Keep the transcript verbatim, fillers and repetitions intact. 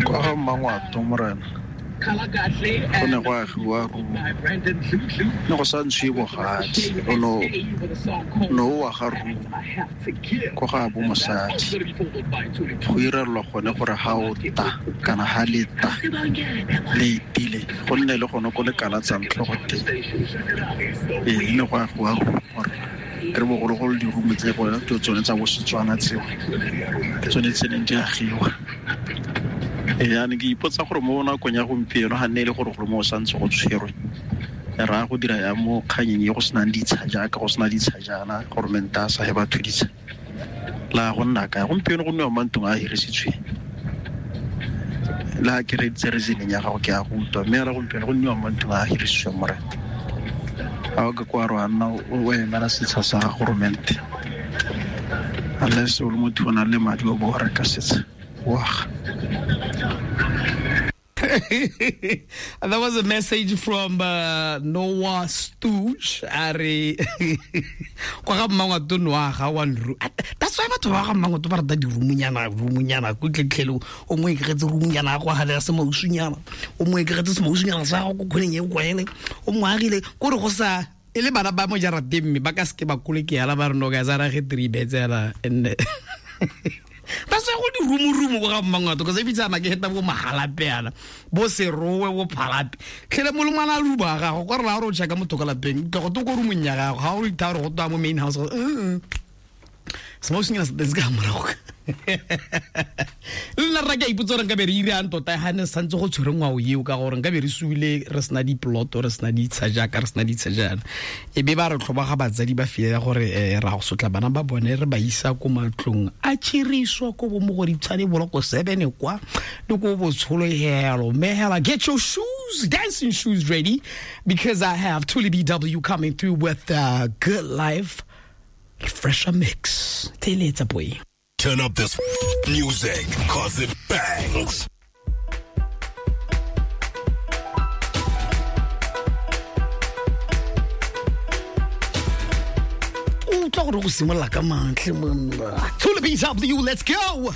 Kwa ga Mmangwato morena go ne go agiwa rumo, ne go sa ntshiwe bogadi, o no no o aga rumo ko ga bo mosadi, go irelwa gone gore ha o ta kana ha le ta le itile go nne le gone ko le kalatsang tlhogo teng. Ee, ne go agiwa rumo gore re bogologolo dirumo tse gone ke tsone tsa bo Setswana tseo, ke tsone tse neng di agiwa. Ee, jaanong ke ipotsa gore mo nakong ya gompieno ga nne e le gore gore mo o santse go tshwerwe, re raya go dira yang mo kganyeng e go senang ditsha jaaka go sena ditsha jaana, goromente a sa he batho ditsha, la go nna kae gompieno go nniwa mo mantlong a a hirisitsweng. Le ha ke reeditse reasoning ya gago ke a go utlwa, mme ra gompieno go nniwa mo mantlong a a hirisitsweng morena. Ga o ka kwa re wa nna o emela setsha sa goromente, unless o le motho o nang le madi o bo o reka setsha o aga. That was a message from uh, Noah Stooge. Are kwa ga Mmangwato no aga one room. That's why batho ba ga Mmangwato ba rata dirumunyana, rumunyana ko tletlhelo o mo ikgetse rumunyana go agela se mausunyana, o mo ikgetse se mausunyana sa go khoneng e kwaele, o mo agile ko re go sa e le bana ba mo jarateng mme ba ka seke ba koleke yala ba re no ka tsara ge three beds yala and ba se go di rumu-rumu ko ga Mmangwato ka se bitsa ke heta bo Mahalape yana bo Serowe bo Phalape tlhele mo lengwana a ruba gago kwa re la gore o checka motho ka lapeng tla go to ko rumong ya gago ga o itha gore go twa mo main house semausunyana sa teng se ka morago. Le nna rra ke a ipotsa gore nka be re irang tota ga ne santse go tshwere ngwao eo, ka gore nka be re suile re sena diploto, re sena ditsha jaaka re sena ditsha jaana, e be ba re tlhobaga batsadi ba fiela gore um ra go sotla bana ba bone re ba isa ko matlong a tšhiriswa ko bo Mogoditshane boloko seven kwa le ko botsholo helo. Mme hela get your shoes, dancing shoes ready, because I have Tuli B W coming through with uh, Good Life Refresher Mix. Teletsa boy. Turn up this music, cause it bangs. Utlwa gore go simolola ka mantle monna. Tuli B W, let's go.